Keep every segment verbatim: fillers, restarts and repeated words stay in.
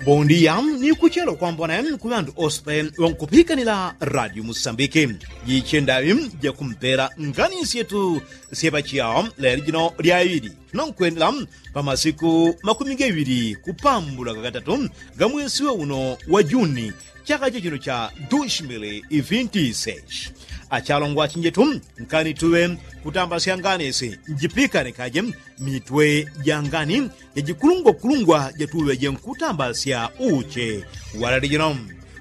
Bondia ni kuchelo kwambona ku ŵandu ospe ŵankupikanila radio musambiki. Jiche ndaŵi jakumpela ngani syetu syepachiao leli jino lyaŵili. Tunonkwendela pa masiku makumi gaŵili kupambula gagatatu ga mwesi wa uno wa juni, chaka chechino cha dushimili ifinti seshi. Achalongwa achinjetu, nkani tuŵe kutambasya ngani si njipikane kaje mitwe ja ngani ja jikulungwakulungwa jatuŵeje nkutambasya uche. Walali jino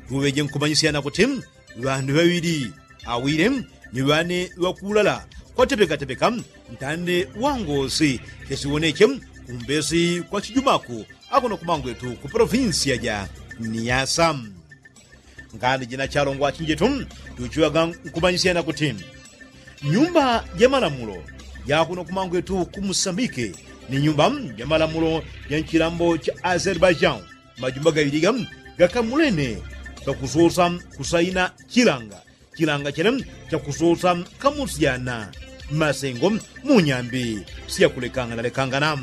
tuŵeje nkumanyisyana kuti ŵandu ŵaŵili awile ni ŵane ŵakulala kwatepekatepeka ntande wangosi chesiwoneche kumbesi kwa chijumaku akuno kumangwetu ku polovinsiya ja niyasa. Ngani jina chalongwa achinjetu tuchiŵaga nkumanyisyana kuti nyumba ja malamulo ja kuno kumangwetu ku musambike ni nyumba ja malamulo ja nchilambo cha azerbaijan majumba gaŵiliga gakamulene gakusosa kusaina chilanga chilanga chene chakusosa kamusyana masengo mu nyambi siyakulekanganalekangana.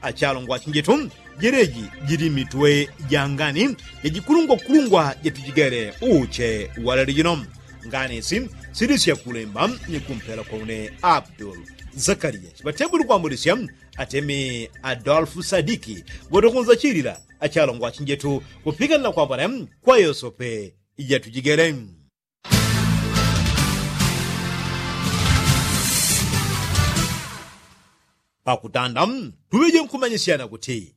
Achalongwa achinjetu jeleji jili mitwe ja ngani ja jikulungwakulungwa jatujigele uche walali jino. Ngani si sili syakulemba ni kumpela kwa une abdul zakaria chiŵatebuli kwambulisya atemi adolfu sadiki ŵotokunza chilila achalongwa achinjetu kupikanila kwambona kwa yosope ijatujigele. Pakutanda tuŵeje nkumanyisyana kuti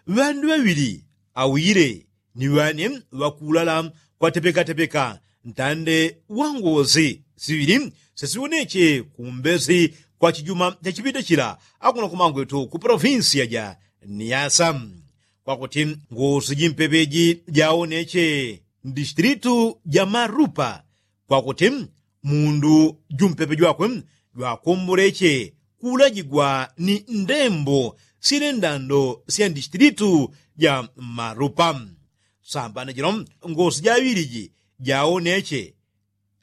ŵandu ŵaŵili awile ni ŵane ŵakulala kwatepekatepeka ntande wangosi siŵili sesiwoneche kumbesi kwa chijuma chachipita chila akuno kumangwetu ku polovinsiya ja niyasa. Kwakuti ngosi jimpepeji jawoneche ndistilitu ja marupa kwakuti mundu jumpepe jwakwe jwakomboleche kulajigwa ni ndembo sile ndando sya ndistilitu ja marupa. Sambana jino ngosi jaŵiliji jawoneche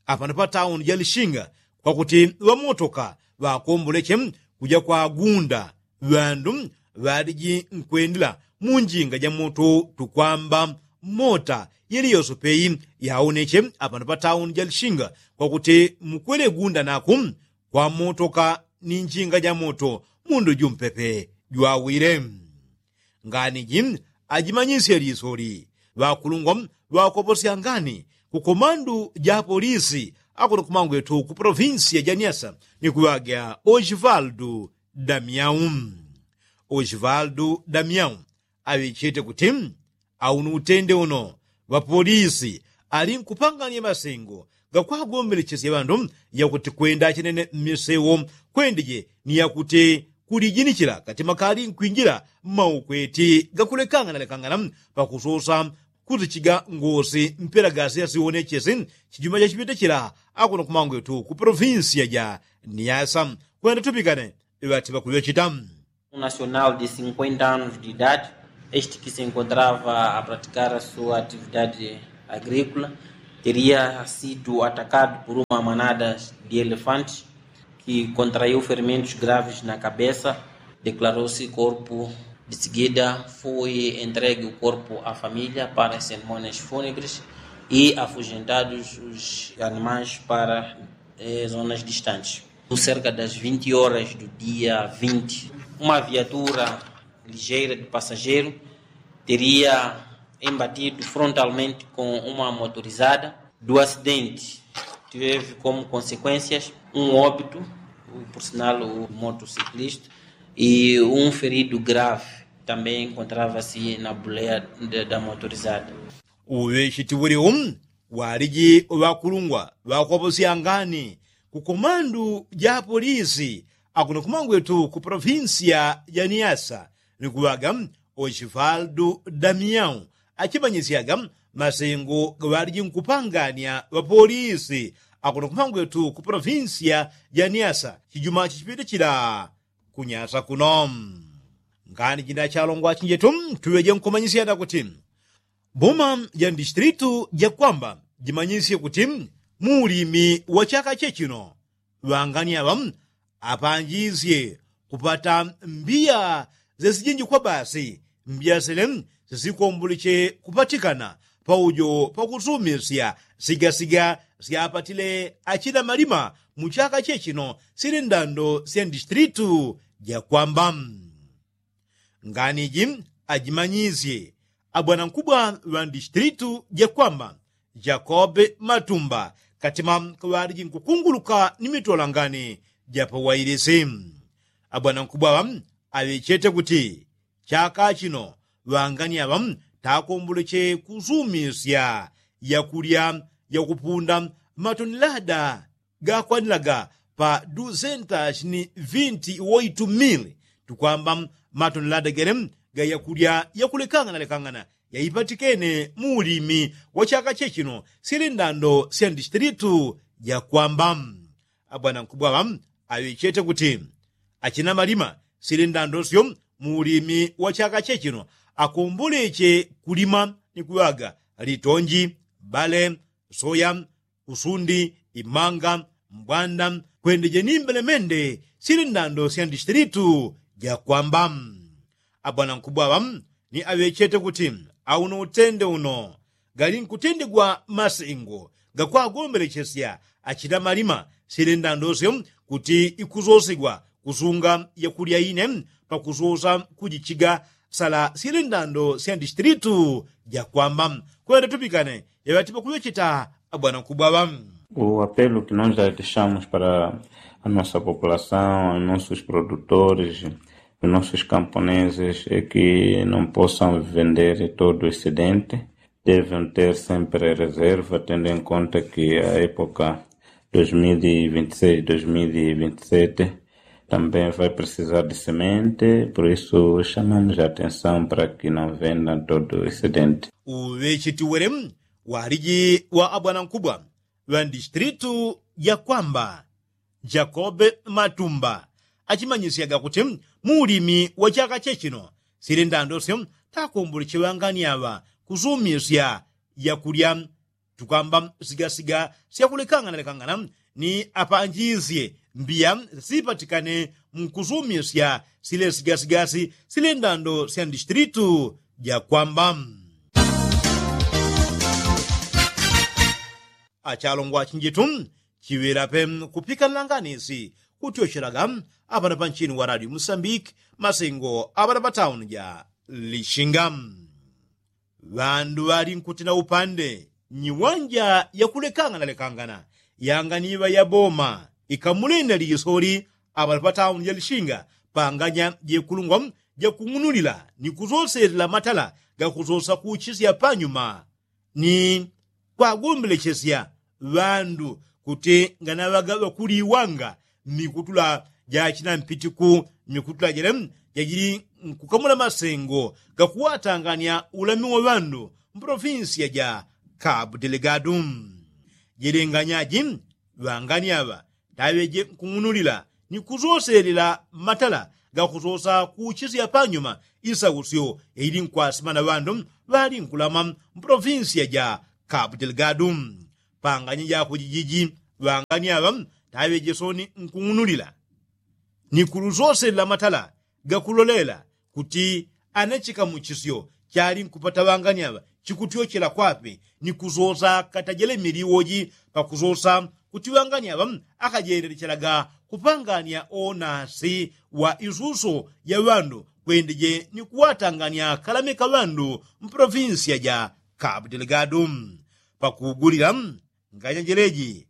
apano pa tauni ja lishinga kwakuti ŵamotoka ŵakomboleche kuja kwagunda ŵandu ŵaliji nkwendela mu njinga ja moto tukwamba mota yeli yosopeyi yawoneche apano pa tauni ja lishinga kwakuti mukwele gunda naku kwa motoka ni njinga ja moto mundu jumpepe jwawile. Ngani ji ajimanyisye lisoli ŵakulungwa ŵakoposya ngani ku komandu ja polisi akuno kumangwetu ku polovinsiya ja niasa ni kuŵaga osvaldu damiau. Osvaldu damiau aŵechete kuti aunu utende uno ŵapolisi ali nkupanganya masengo gakwagombelechesya ŵandu yakuti kwenda chinene mmisewo kwendeje ni yakuti kulijinichila katima kali nkwinjila mmaukweti gakulekanganalekangana pakusosa kusichiga ngosi mpela gasi yasiwonechesi chijuma chachipita chila akuno kumangwetu ku polovinsiya ja niyasa. Kwenda tupikane ŵati ŵakuŵechita. Um nacional de cinquenta anos de idade, este que se encontrava a praticar a sua atividade agrícola, teria sido atacado por uma manada de elefantes que contraiu ferimentos graves na cabeça, declarou-se corpo. De seguida, foi entregue o corpo à família para as cerimônias fúnebres e afugentados os animais para eh, zonas distantes. Por cerca das vinte horas do dia vinte, uma viatura ligeira de passageiro teria embatido frontalmente com uma motorizada. Do acidente, teve como consequências um óbito, por sinal, o motociclista, e um ferido grave também encontrava-se na boleia de, da motorizada. Uŵechiti uŵoliu waliji ŵakulungwa ŵakwaposya ngani ku komandu ja polisi akuno kumangwetu ku polovinsiya ja niyasa ni kuŵaga osvaldu damiau achimanyisyaga masengo gaŵaliji nkupanganya ŵapolisi akuno kumangwetu ku polovinsiya ja niyasa chijuma chichipita chila kunyasa kuno. Ngani jina chalongwa achinjetu tuŵeje nkumanyisyana kuti boma ja ndistilitu ja kwamba jimanyisye kuti mu ulimi wa chaka chechino ŵangani aŵa apanjisye kupata mbiya zesijinji kwa basi mbyasile sisikomboleche kupatikana paujo pakusumisya sigasiga syapatile achina malima mu chaka chechino sili ndando sya ndistilitu jakwamba. Ngani ji ajimanyisye abwanankubwa ŵa ndistilitu jakwamba jakobe matumba katima kaŵaliji nkukunguluka ni mitolangani japawailisi. Abwanankubwa ŵa aŵechete kuti chaka chino ŵangani aŵa takomboleche kusumisya yakulya yakupunda matonilada gakwanilaga pa dusenta shini vinti woitu mili tukwamba matonilada gele ga yakulya yakulekangana lekangana yaipatikene mu ulimi wa chaka chechino sili ndando sya ndistilitu jakwamba. Abwanankubwa ŵa aŵechete kuti achina malima sili ndando syo mu ulimi wa chaka chechino akomboleche kulima ni kuŵaga litonji bale soya usundi imanga mbwanda kwendeje ni mbelemende sili ndando sya ndistilitu jakwamba. Abwanankubwa ŵa ni aŵechete kuti auno utende uno gali nkutendegwa masengo gakwagombelechesya achina malima sili ndando syo kuti ikusosegwa kusunga yakulya ine pakusosa kujichiga sala sili ndando sya ndistilitu jakwamba. Kwenda tupikane yaŵati pakuŵecheta abwanankubwa ŵa. O apelo que nós já deixamos para a nossa população, aos nossos produtores, os nossos camponeses é que não possam vender todo o excedente, devem ter sempre reserva, tendo em conta que a época dois mil e vinte e seis, dois mil e vinte e sete também vai precisar de semente, por isso chamamos a atenção para que não vendam todo o excedente. Uŵechetiwele waliji wa abwanankubwa ŵa ndistilitu jakwamba jakobe matumba achimanyisyaga kuti mu ulimi wa chaka chechino sili ndando syo takomboleche ŵangani aŵa kusumisya yakulya tukwamba sigasiga syakulekangana lekangana ni apanjisye mbiya sipatikane mu kusumisya sile sigasigasi sile ndando sya ndistilitu jakwamba. Achalongwa chinjitu chiŵela pe kupikanila nganisi kutyochelaga apana panchini wa radio musambiki masengo apana patauni ja lishinga. Ŵandu ŵali nkutina upande nyiwanja yakulekangana lekangana yanganiŵa yaboma ikamulenda lisoli apana patauni ja lishinga panganya jekulungwa jakung'unulila ni kusoselela matala gakusosa kuchisya panyuma ni kwagombelechesya ŵandu kuti nganaŵaga ŵakuliwanga mmikutula ja chinampitiku mmikutula jele jajili nkukamula masengo gakuwatangania ulami wa ŵandu mpolofinsiya ja kabu delegadu. Jele nganyaji ŵangani aŵa taŵeje nkung'unulila ni kusoselela matala gakusosa kuchisya panyuma isausyo yaili nkwasima na ŵandu ŵali nkulama mpolofinsiya ja kabu delegadu. Panganya jako jijiji ŵangani aŵa taŵeje soni nkung'unulila ni kulusoselela matala gakulolela kuti ana chikamuchisyo chali nkupata ŵangani aŵa chikutyochela kwape ni kusosa katajele miliwoji pakusosa kuti ŵangani aŵa akajendelechelaga kupangania onasi wa isuso ya ŵandu kwendeje ni kuwatangania kalame ka ŵandu mpolofinsiya ja kabu delegadu. Pakugulila nganyajeleji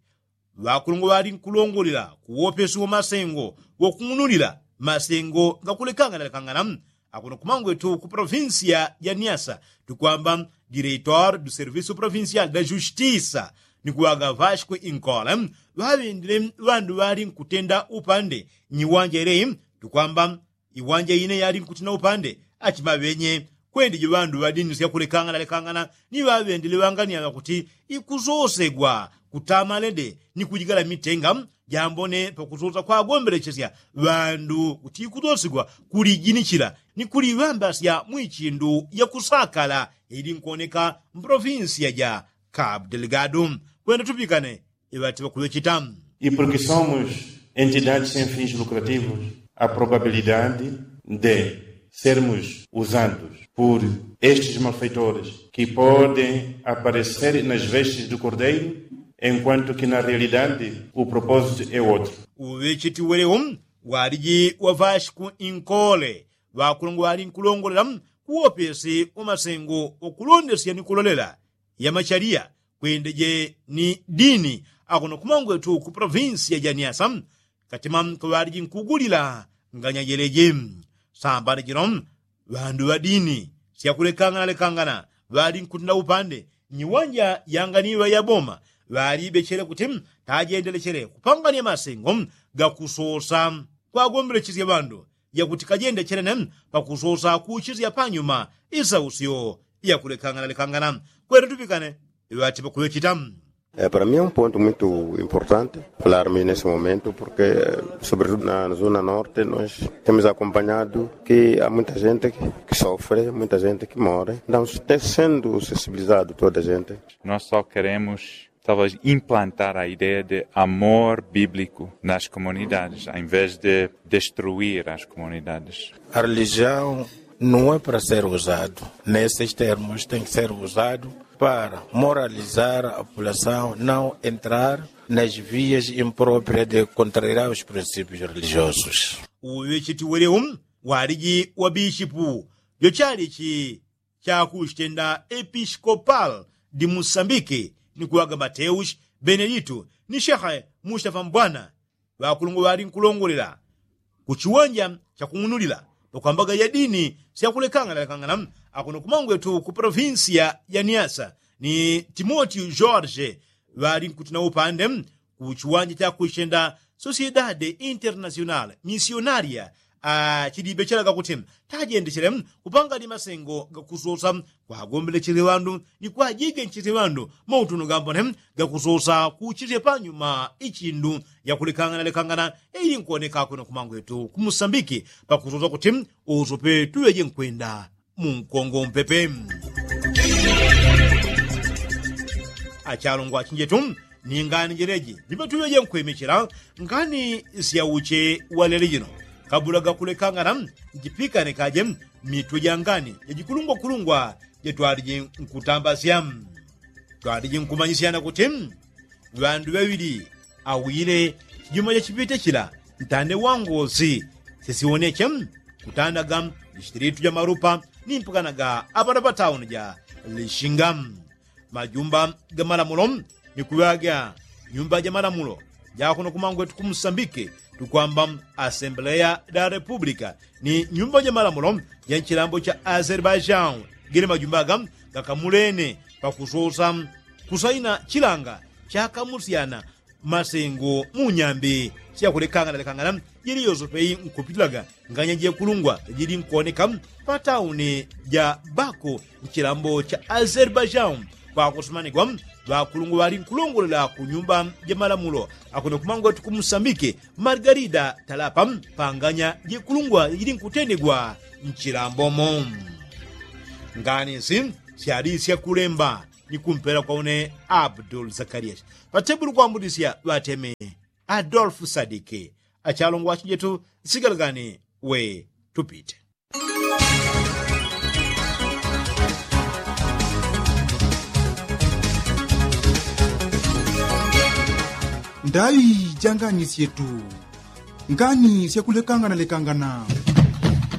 ŵakulungwa ŵali nkulongolela kuwopesi wa masengo wakung'unulila masengo gakulekangana lekangana akuno kumangwetu ku polofinsiya ja niasa tukwamba direitor du servisu polofinsial da justisa ni kuŵaga vasco inkole ŵaŵendile ŵandu ŵali nkutenda upande nyiwanja ileyi tukwamba iwanja ine yali nkutina upande achimaŵenye kwendeje ŵandu ŵadinisya kulekangana lekangana ni ŵaŵendile ŵangani aŵa kuti ikusosegwa kutama lede ni kujigala mitenga jambone pakusosa kwagombelechesya ŵandu kuti ikusosigwa kulijinichila ni kuliŵambasya mwichindu yakusakala ili nkuoneka mpolofinsiya ja kabu delegadu. Kwenda tupikane iŵati ŵakuŵecheta. E porke somos entidades sem fins lucrativos a probabilidade de sermos usados por estes malfeitores que podem aparecer nas vestes do cordeiro, enquanto que na realidade o propósito é outro. Uŵecheti welewo waliji wavashi ku inkole ŵakulongo ŵali nkulongolela kuwopesi wamasengo wakulondesya ni kulolela yamachaliya kwendeje ni dini akuno kumangwetu ku provinsiya ja niasa. Katima kaŵaliji nkugulila nganya jeleji sambana jino ŵandu ŵa dini syakulekangana lekangana ŵali nkutenda upande nyiwanja yanganiŵa yaboma ŵalibechele kuti tajendelechele kupangania masengo gakusosa kwagombelechesya ŵandu yakuti kajende chelene pakusosa kuchisya panyuma isausyo yakulekangana lekangana. Kwele tupikane iŵati pakuŵechita. Para mi é um ponto muito importante falarmos nesse momento porque sobretudo na zona norte nós temos acompanhado que há muita gente que sofre, muita gente que more, não sendo sensibilizado toda a gente. Nós só queremos talvez implantar a ideia de amor bíblico nas comunidades, ao invés de destruir as comunidades. A religião não é para ser usado nesses termos, tem que ser usado para moralizar a população, não entrar nas vias impróprias de contrariar os princípios religiosos. Uŵecheti welewo waliji wa bishipu jo chalichi chakuchitenda episkopal di musambiki ni kuŵaga mateus benedito ni shehe mustafa mbwana ŵakulongo ŵali nkulongolela kuchiwanja chakung'unulila pakwambaga ya dini syakulekangana lekangana akuno kumangwetu ku provinsiya ya niasa ni timotio george ŵali nkutina upande kuchiwanja chakuchitenda sociedade internasional misionaria achilibechelaga kuti tajendechele kupangani masengo gakusosa kwagombelechele ŵandu ni kwajigenchele ŵandu mautuno gambone gakusosa kuchisye panyuma ichindu yakulekangana lekangana ili nkuoneka kweno kumangwetu kumusambiki pakusosa kuti usope tuŵeje nkwenda munkongo mpepe. Achalongwa achinjetu ni ngani jeleji jipatuŵeje nkwemechela ngani syauche walele jino kabula gakulekangana njipikanikaje mitwe ja ngani jajikulungwakulungwa jatwaliji nkutambasya twaliji nkumanyisyana kuti ŵandu ŵaŵili awile chijuma chachipite chila ntande wangosi sisiwoneche kutandaga mishitilitu ja malupa ni mpakanaga apana patauni ja lishinga majumba ga malamulo ni kuŵaga nyumba ja malamulo ja kuno kumangwetu kumusambike tukwamba asembleya da republika ni nyumba ja malamulo ja nchilambo cha azerbaijan gene majumba aga gakamulene pakusosa kusaina chilanga chakamusyana masengo mu nyambi syakulekangana lekangana jili yosope nkupitilaga nganya jekulungwa jili nkuoneka patauni ja baku nchilambo cha azerbaijan kwakusumanigwa ŵakulungwa ŵali nkulongolela ku nyumba ja malamulo akuno kumangwetu kumusambike margarida talapa panganya jekulungwa jili nkutendegwa nchilambomo. Ngani nsi syali syakulemba ni kumpela kwa une abdul zakarias patebulu kwambudisya ŵateme adolfu sadiki achalongwa achinjetu nsigalagani we tupite. Ndaŵi ja ngani syetu ngani syakulekangana lekangana.